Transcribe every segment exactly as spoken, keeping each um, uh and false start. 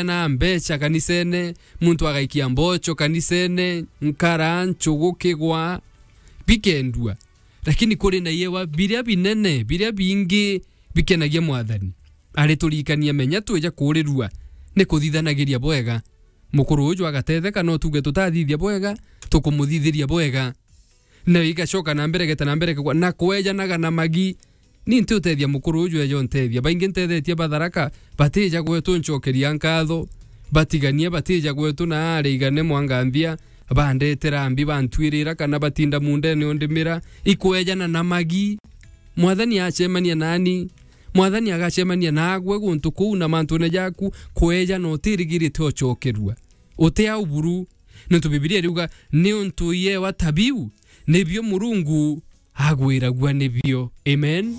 na mbeca kanisene, muntu agaikia mbocho kanisene, nkara, nchugu, kigwa, bikendua. Lakini kuri na iewa biria binene, biria bingi bikenagia Mwathani. Ariturikania, menya twija kuurirua ni kuthithanagiria bwega. Mukuru uju agatetheka, no tuge tutathithia bwega, tukumuthithiria bwega. Na igacoka na mbere, geta na mbere kugwa, na kwejanaga na magi. Ni nti utethia mukuru uju eja untethia. Baingi ntethetie batharaka, batija gwetu ncokeria nkatho. Batigania, batija gwetu na ari igane mwanganthia, bandetera mbi, bantwirira, kana batinda mundene undimira. Ikwejana na magi. Mwathani acemania nani? Mwathani agacemania naagwe guntu kuu na mantune jaku, kweja na utirigirite ucokerua. Uti au buru, nontu Bibilia iriuga, niuntu iewa ta biu, nibio Murungu agwiragua nibio. Amen.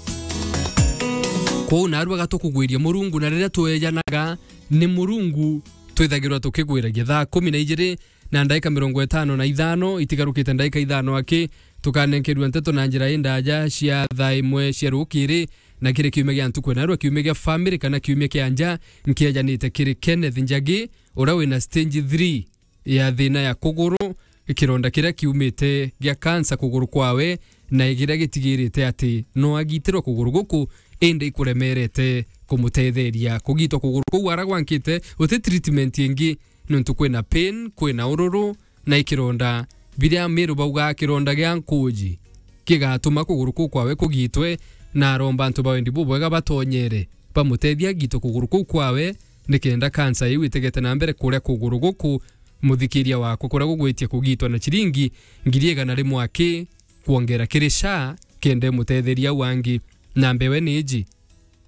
Kwou naarua gatukugwiria Murungu, na riria twejanaga ni Murungu, twithagirwa tukigwiragia. Thaa kumi na ijiri na ndaika mirongo itano na ithano, itigarukite ndaika ithano aki, tukanenkerua nteto na njira indaja cia thaa imwe cia rukiri, na kiri kiumia gia ntuku ya narua, kiumia gia family kana kiumia kia nja, nkiejanite kiri Kenneth Njagi, uria wina stage three ya thina ya kuguru, kironda kiria kiumite gia kansa kuguru kwawe, na kiria gitigirite ati no agitirwe kuguru guku, indi ikuremerete kumutetheria kugitwa kuguru kuu aragwankite, uti treatment ingi, nontu kwina pain, kwina ururu, na ikironda biria Miru baugaa kironda gia nkuji kigatuma kuguru kuu kwawe kugitwe, na aromba antu ba wendi bubwega batonyere bamutethia agitwe kuguru kuu kwawe, nikenda kansa iu itigete na mbere kuria kuguru guku, muthikiria wakwa, kuria gugwitia kugitwa na ciringi ngiri igana rimwe aki kwongera kiri SHA, kenda imutetheria au angi. Namba ewe ni iji,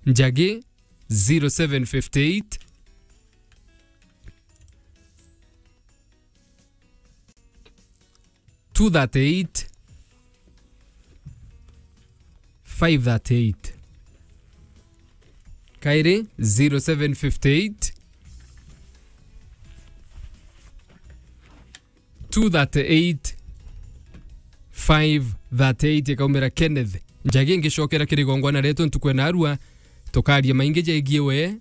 Njagi, zero seven fifty eight, two thirty eight, five thirty eight. Kairi, zero seven fifty eight, two thirty eight, five thirty eight. Ikaumira Kenneth Njagi. Ngicokera kiri igongwana rietu ntuku ya narua, tukaria maingi jegie we.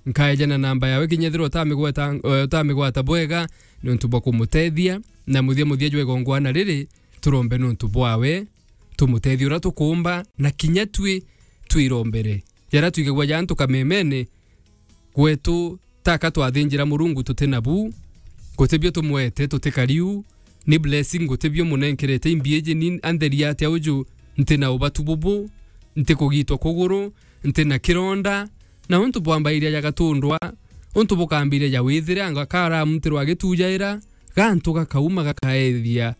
Nkaejana namba yawe kinya ethirwa utamigweta, eh, utamigwata bwega, niuntu bwa kumutethia, na muthia muthia jwa igongwana riri, turombe niuntu bwawe, tumutethie uria tukuumba, na kinya twi twirombere. Jaria twigagua ja antu kamemene, gwetu taka twathinjira Murungu tuti nabu, gutibio tumwete, tutikariu, ni blessing gutibio munenkerete. Imbi iji ni antheria atia uju? Nti na ubatu bubu, nti kugitwa kuguru, nti na kironda, na untu bwambairia ja gatundwa, untu bukambiria ja withire, anga karamutirwa agitujaira, gantu gakauma gakaethia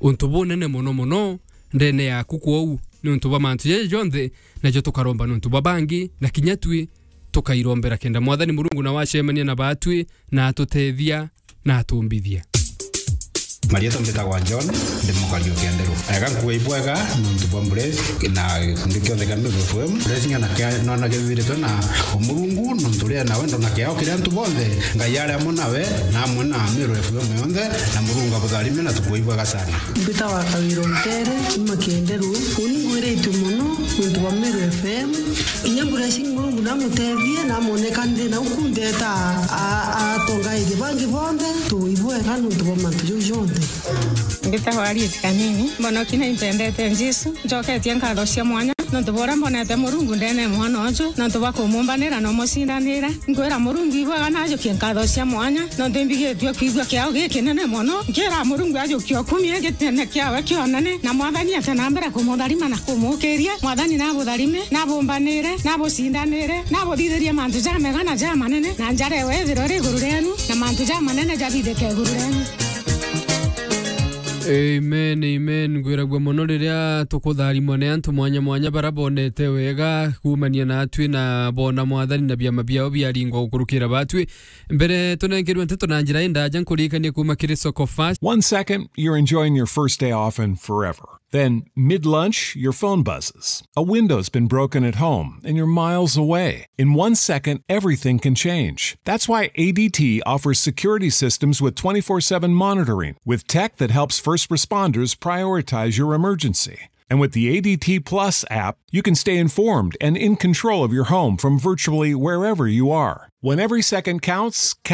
untu bunene mono mono ndene yaku. Kwou ni untu bwa mantu jaja jonthe, najo tukaromba ni untu bwa bangi, na kinya twi tukairombera kenda Mwathani Murungu nawe acemania na batwi na atutethia na atumbithia. Marietwa mbitagwa John, ndi mukari o Kianderu. Ega nkuga ibwega nontu bwa Mburesi na gikundi kionthe kia Meru F M. Mburesi ng'ana kia nona kithiritwe na Umurungu, nontu ria na wendo na kiao kiri antu bonthe. Ngai ari amwe nawe na amwe na Meru F M yonthe, na Murungu abutharime na tukuga ibwega sana. Mbitagwa Kawira Ntere, kuma Kianderu. Uni ngwiritue mono nontu bwa Meru F M. Kinya Mburesi Murungu namutethie, namwoneka nthina uku ndeeta a-, a-, atongairie bangi bonthe, tuibwega nontu bwa mantu jau jonthe. Mbitagwa Harriet Kanini, mbonoki na impendete Jesu, njoketie nkatho cia mwanya nontu bwa uria mbonete Murungu ndene mwana uju, nontu bwa kumumbanira na umucindanira. Nkwira Murungu ibwega najukie nkatho cia mwanya, nontu imbigitue kwigua kiao gikinene mono. Nkira Murungu ajukie ukumie gitene kiawe kionene, na Mwathani ate na mbere kumutharima na kumukiria. Mwathani nabutharime, nabumbanire, nabucindanire, nabuthithirie mantu jamega na jamanene, na njara ewe ithirwe iri iguru rienu, na mantu jamanene jabithike iguru rienu. Amen, amen. Ngwiragua mono riria tukutharimwa ni antu mwanya mwanya bara bonete wega kumania natwi na bona Mwathani na biama biao biaringwa gukurukira batwi. Mbere tunengerwe nteto na njira indaja, nkuririkanie kuma kiri Soko Fast. One second, you're enjoying your first day off and forever. Then, mid-lunch, your phone buzzes. A window's been broken at home, and you're miles away. In one second, everything can change. That's why A D T offers security systems with twenty-four seven monitoring, with tech that helps first responders prioritize your emergency. And with the A D T Plus app, you can stay informed and in control of your home from virtually wherever you are. When every second counts, count